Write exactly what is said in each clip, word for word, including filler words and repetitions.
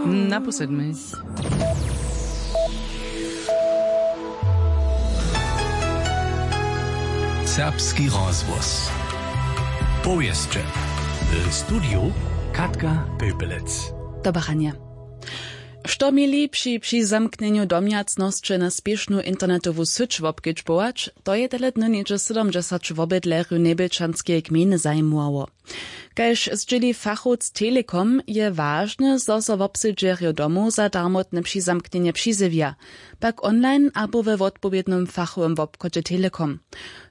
Na pół sedmich. Serbski rozhłos. Powěsće. W studiju Katka Pepelec. Dobaranje. Što měli při přizamknjenju domjacnosće na spěšnu internetowu syć wobkedźbować, to je tele dny něhdźe sydomdźesać wobydlerjow njebjelčanskeje gmejny zajimało. Kaž zdźěli fachowc Telekom, je wažne, zo so wobsedźerjo domow za darmotne přizamknjenje přizjewja, pak online abo we wotpowědnym fachowym wobchodźe Telekom.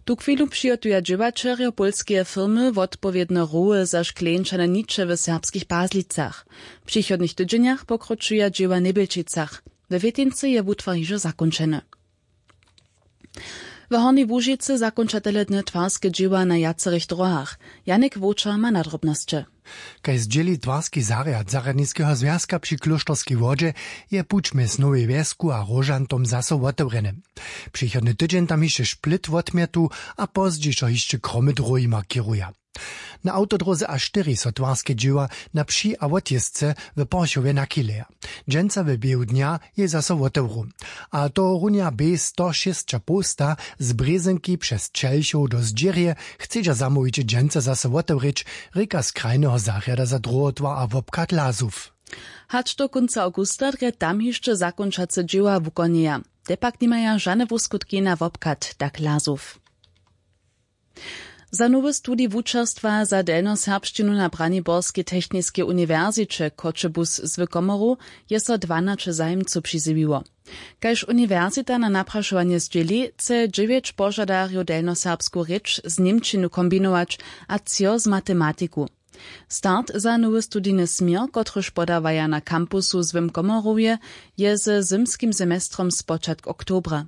Tuchwilu přihotuja dźěłaćerjo pólskeje firmy wotpowědne roły za škleńčane niče w serbskich Pazlicach. W přichodnych tydźenjach pokročuja dźěła w Njebjelčicach. We Wětincy je wutwar hižo zakónčeny. W Hornjej Łužicy zakónča tele dny twarske dźěła na wjacorych dróhach. Janik Wołčer ma nadrobnosće. Kaž zdźěli twarski zarjad zarjadniskeho zwjazka při Klóšterskej wodźe, je puć mjez Nowej Wjesku a Róžantom zaso wotewrjeny. Přichodny tydźeń tam hišće šplit wotmětu a pozdźišo hišće kromy dróhi markiruja. Na awtodróze A štyri so twarske dźěła na při a wotjězce w Porchowje nachyleja. Dźensa w běhu dnja je zaso wotewru. A tohorunja bě sto šěsć a poł sta z Brězynki přez Čelchow do Zdźěrje chcedźa zamołwić dźensa zaso wotewrěć, rěka z krajneho zarjada za druhotwar a wobchad Lazow. Hač do kónca awgusta drje tam hišće zakónčace dźěła wukonjeja. Te pak nimaja žane wuskutki na wobchad, tak Lazow. Za nowy studij wučerstwa za delnjoserbšćinu na Braniborskej techniskej uniwersiće Choćebuz z Wykomoru je so dwanaće zajimcow přizjewiło. Kaž uniwersita na naprašowanje zdźěli, chce dźewjeć požadarjow delnjoserbsku rěč z němčinu kombinować a třo z matematiku. Start za nowy studijny směr, kotryž podawaja na kampusu w Komorowje, je ze zymskim semestrom spočatk oktobra.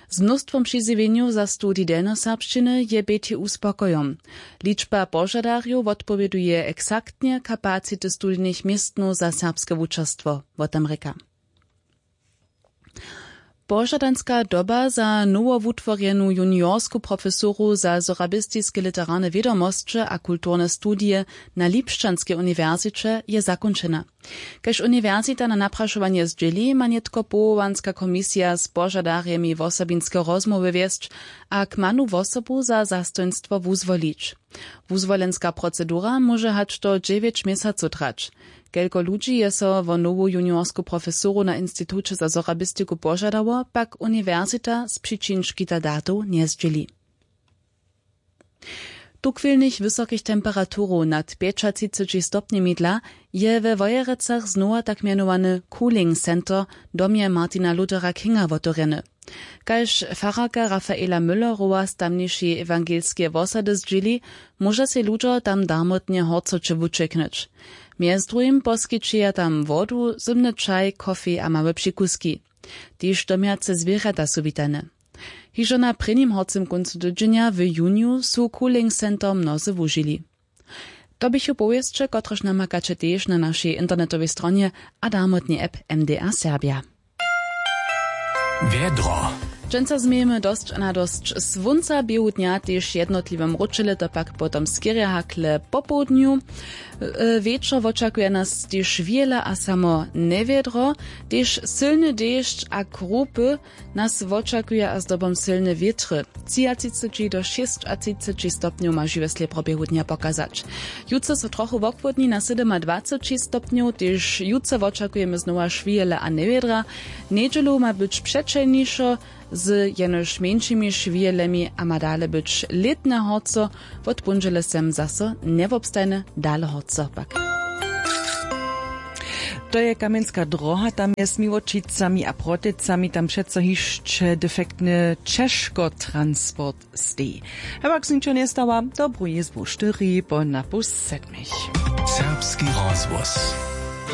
Z mnóstwom přizjewjenjow za studij delnjoserbšćiny je B T U spokojom. Ličba požadarjow wotpowěduje eksaktnje kapacity studijnych městnow za serbske wučerstwo, wo tym rěka. Požadanska doba za nowowutworjenu juniorsku profesoru za sorabistiske literarne wědomosće a kulturne studije na Lipšćanskej uniwersiće je zakónčena. Kaž uniwersita na naprašowanje zdźěli, ma nětko powołanska komisija z požadarjemi wosobinske rozmołwy wjesć a kmanu wosobu za zastojnstwo wuzwolić. Wuzwolenska procedura móže hač do dźewjeć měsacow trać. Kelko ludźi je so wo nowu juniorsku profesoru na Instituće za sorabistiku požadało, pak uniwersita z přičin škita datow njezdźěli. Tuchwilnych wysokich temperaturow nad pjećatřiceći stopnjemi dla je we Wojerecach znowa tak mjenowany Cooling Center w domje Martina Luthera Kinga wotewrjeny. Kaž fararka Rafaela Müllerowa z tamnišej ewangelskeje wosady zdźěli, móža sej ludźo tam darmotnje horcoće wućěknyć. Mjez druhim poskićeja tam wodu, zymny čaj, kofej a małe přikuski. Tež domjace zwěrjata su witane. Hižo na prěnim horcym kóncu tydźenja w juniju su Cooling Center mnozy wužili. To běchu powěsće, kotrež namakaće tež na našej internetowej stronje a darmotnej app M D R Serbja. Wjedro. Dźensa změjemy dosć a na dosć słónca, běhu dnja tež jednotliwe mróčele, to pak potom skerje hakle popołdnju. E, wječor wočakuje nas tež wjele a samo njewjedro, tež sylny dešć a krupy. Nas wočakuje a zdobom sylne wětry. Třiatřiceći do šěsćatřiceći stopnjow ma žiwje slěpro běhu dnja pokazać. Jutře so trochu wochłódni na sydomadwaceći stopnjow, tež jutře wočakujemy znowa šwihele a njewjedra. Njedźelu ma być přećelnišo z jenož mjeńšimi šwihelemi a ma dale być lětne horco. Wot póndźele sem zaso njewobstajne, dale horco pak. To je Kamjenska dróha, tam je z Miłočicami a Protycami, tam přeco hišće defektny ćežkotransport steji. Hewak zničo njestawa, dobru jězbu štyri po na pół sedmich. Serbski rozhłos.